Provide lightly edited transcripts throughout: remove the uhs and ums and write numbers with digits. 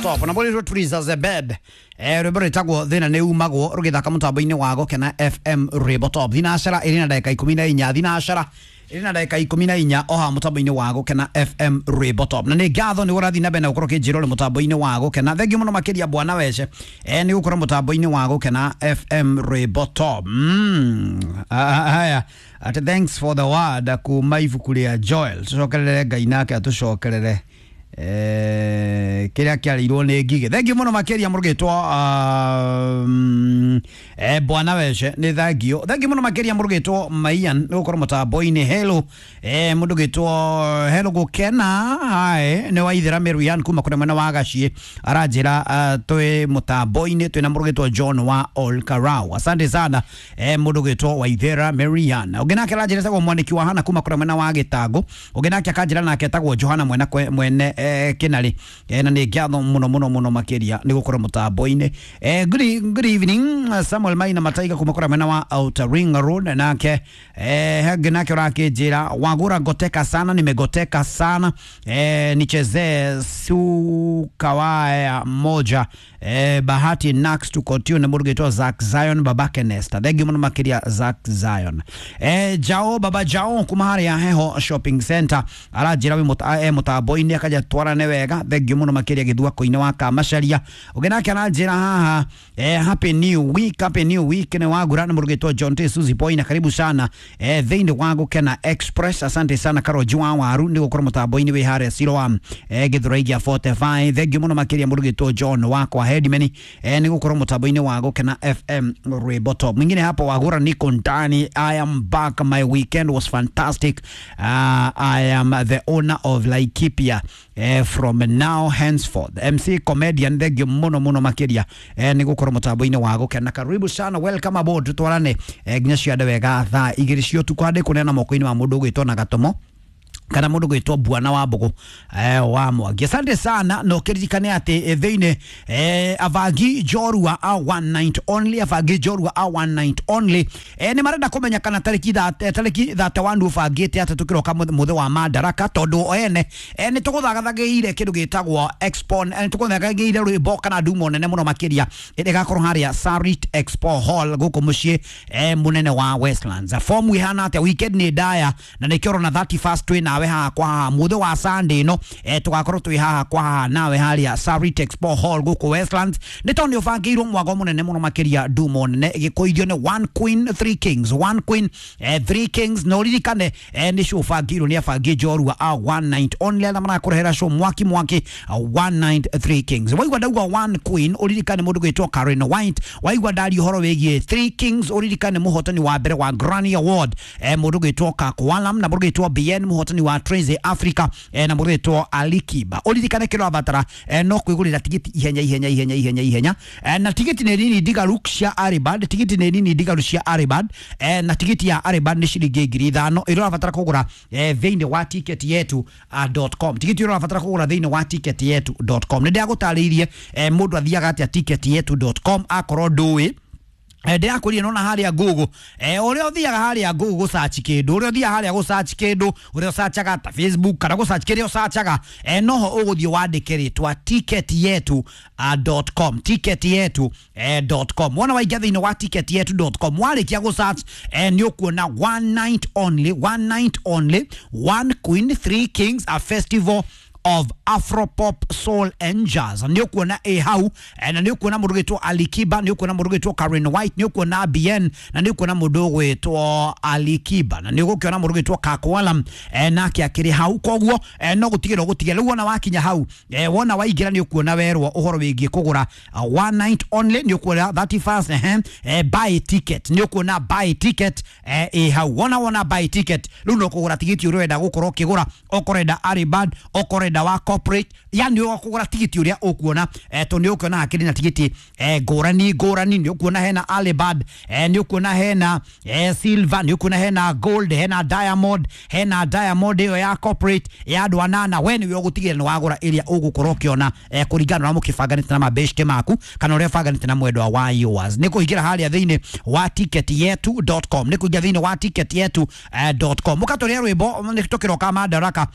Top na bori Tuliza the bed rwimbo rwitagwo thina ni umagwo rugithaka mutambo-ini wa Gukena FM Rwimbo Top. Thinacara iri na ndagika 14, thinacara iri na ndagika 14 oha mutambo-ini wa Gukena FM Rwimbo Top. Na ni ngatho ni urathi na mbere na gukorwo kinjira uri mutambo-ini wa Gukena. Thengiũ muno makiria bwana wece ni gukorwo mutambo-ini wa Gukena FM Rwimbo Top. Haya, ati thanks for the word kuma ibuku ria Joel. Tucokerere Ngai nake atucokerere kiria kiarĩirwo nĩ ngigĩ. Thengiũ mũno makĩria mũrũgĩtwo bwana wece nĩ thengiũ. Thengiũ mũno makĩria mũrũgĩtwo Maian nĩ gũkorwo mũtambo-inĩ. Hello mũndũ gĩtwo hello Gũkena hi nĩ waithĩra Merian kuma kũrĩa mwena wa Gaciĩ aranjĩra twĩ mũtambo-inĩ twĩna mũrũgĩtwo John wa Olkarau. Asante sana mũndũ gĩtwo Waithĩra Merian. Ũngĩ nake aranjĩra etagwo Mwanĩki wa Hana kuma kũrĩa mwena wa Gĩtangũ. Ũngĩ nake akanjĩra nake etagwo Johana mwena mwene Kinari na nĩ ngatho mũno mũno mũno makĩria nĩ gũkorwo mũtambo-inĩ. Good evening Samuel Maina Mataiga kuma kũrĩa mwena wa Outer Ring Road nake hangĩ nake ũrakĩnjĩra wagũra ngoteka sana, nimegoteka sana nichezee sukawaya moja Bahati Nax tuko tune mũrugĩtwo Zack Zion babake Nesta. Thengiũ mũno makĩria Zack Zion. Jao baba Jao kuma harĩa Heho Shopping Center aranjĩra wĩ mũtambo-inĩ akaja twarane wega. Thengiũ mũno makĩria gĩthuako-inĩ wa Kamacaria. Ũngĩ nake aranjĩra haha happy new week, happy new week nĩ wagura nĩ mũrugĩtwo John T Suzy Boy na karibu sana thĩinĩ wa Gũkena Express. Asante sana Karoji wa Waru nĩ gũkorwo mũtambo-inĩ wĩ harĩa Siloam Gĩthũrai gĩa 45. Thengiũ mũno makĩria mũrugĩtwo John wakwa Headman nĩ gũkorwo mũtambo-inĩ wa Gũkena FM Rwimbo Top. Mwingine hapo wagura niko ndani. I am back, my weekend was fantastic. I am the owner of Laikipia from now henceforth. MC comedian thengiũ mũno mũno makĩria nĩ gũkorwo mũtambo-inĩ wa Gũkena. Karibu sana, welcome aboard, tutwarane nginya ciande wega thaa igĩrĩ cia ũtukũ handĩ kũneana moko-inĩ ma mũndũ ũgwĩtwo na Gatomo kana mũndũ gwĩtwo Bwana wa Mbũgũ wa Mwangi. Asante sana na ũkĩririkane atĩ thĩinĩ avangi njorua a one night only, avangi njorua a one night only nĩ marenda kũmenya kana tarĩki 31 ũbangĩte atĩ tũkĩroka mũthĩ wa Madaraka tondũ ene nĩ tũgũthagathagĩire kĩndũ gĩtagwo expo, nĩ tũgũthagathagĩire rwĩmbo kana ndumo nene mũno makĩria ĩrĩa ĩgakorwo harĩa Sarit Expo Hall gũkũ mũciĩ mũnene wa Westlands. Fomu ihana atĩa? Weekend nĩ ndaya na nĩkĩo ũrona 31st twĩ nawe haha kwa haha mũthĩ wa Sunday ĩno tũgakorwo twĩ haha kwa haha nawe harĩa Sarit Expo Hall gũkũ Westlands nĩ tondũ nĩ ũbangĩirwo mwago mũnene mũno makĩria ndumo nene ĩgĩkũithio nĩ One Queen Three Kings, One Queen Three Kings na ũririkane nĩ show ũbangĩirwo nĩ abangi njorua a one night only arĩa marakũrehera show mwaki mwaki One Night Three Kings. Waigua ndauga One Queen ũririkane mũndũ gwĩtwo Karen White. Waigua ndaria ũhoro wĩgiĩ Three Kings ũririkane mũhotani wa mbere wa Grammy Award mũndũ gwĩtwo Kakwalam na mũndũ gwĩtwo BN mũhotani wa Trace Africa na mũndũ gwĩtwo Alikiba. Ũririkane kĩrĩa ũrabatara no kwĩgũrĩra tigiti ihenya ihenya ihenya ihenya ihenya na tigiti nĩ nini ndigaru cia Aribad, tigiti nĩ nini ndigaru cia Aribad na tigiti ya Aribad nĩ ciringi 5,000 ĩrĩa ũrabatara kũgũra thĩinĩ wa ticket yetu .com. Tigiti ĩrĩa ũrabatara kũgũra thĩinĩ wa ticket yetu.com. Nĩ ndĩragũtarĩirie mũndũ athiaga atĩa ticket yetu.com akorwo ndũĩ ndĩrakwĩrire nona harĩa Google ũrĩa ũthiaga harĩa Google gũsearch kĩndũ, ũrĩa ũthiaga harĩa gũsearch kĩndũ, ũrĩa ũsearchaga ta Facebook kana gũsearch kĩrĩa ũsearchaga noho ũgũthiĩ wandĩke rĩtwa ticket yetu .com, ticket yetu .com. Wona waingĩa thĩinĩ wa ticket yetu.com warĩkia gũsearch nĩ ũkuona one night only, one night only, One Queen Three Kings, a festival of Afropop, Soul and Jazz. Nĩ ũkuona ĩ hau na nĩ ũkuona mũndũ gwĩtwo Alikiba, nĩ ũkuona mũndũ gwĩtwo Karen White, nĩ ũkuona BN na nĩ ũkuona mũndũ gwĩtwo Alikiba na nĩ ũgũkĩona mũndũ gwĩtwo Kakwalam nake akĩrĩ hau. Koguo no gũtigĩra ũgũtigĩra rĩu wona wakinya hau wona waingĩra nĩ ũkuona werwo ũhoro wĩgiĩ kũgũra one night only, nĩ ũkuona 31st buy ticket, nĩ ũkuona buy ticket ĩ hau. Wona buy ticket rĩu no kũgũra tigiti ũrĩa ũrenda gũkorwo ũkĩgũra, okorwo ũrenda Aribad, okorwo ũrenda wa corporate, yani ũkũgũra tigiti ũrĩa ũkuona tondũ nĩ ũkuona hakĩrĩ na tigiti ngũrani ngũrani. Nĩ ũkuona hena Alibad, nĩ ũkuona hena silver, nĩ ũkuona hena gold, hena diamond, hena diamond ĩyo ya corporate ya andũ anana. We nĩwe ũgũtigĩrĩra nĩ wagũra ĩrĩa ũgũkorwo ũkĩona kũringana na ũrĩa mũkĩbanganĩte na mabeshte maku kana ũrĩa ũbanganĩte na mwendwa wa yours. Nĩ kũingĩra harĩa thĩinĩ wa ticket yetu.com, nĩ kũingĩra thĩinĩ wa ticket yetu.com mũkatũrĩa rwĩmbo nĩ tũkĩroka Madaraka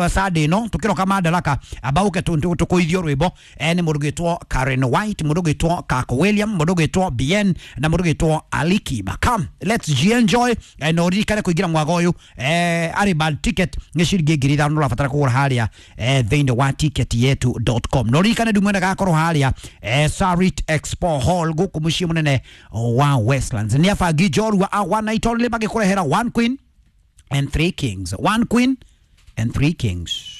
Sunday ĩno. Tukiroka Madaraka abauke tukuithio rwimbo ni mundu gwitwo Karen White, mundu gwitwo Kako William, mundu gwitwo Bien na mundu gwitwo Alikiba. Come, let's enjoy. Na uririkane kuingira mwaga uyu ari bad ticket ni ciringi 5,000 urabatara kugura haria thiini wa ticket yetu.com. Na uririkane ndumwene gakorwo haria Sarit Expo Hall guku mucii munene wa Westlands. Ni abangi njorua a one night only magĩkũrehera one queen and three kings, one queen and three kings.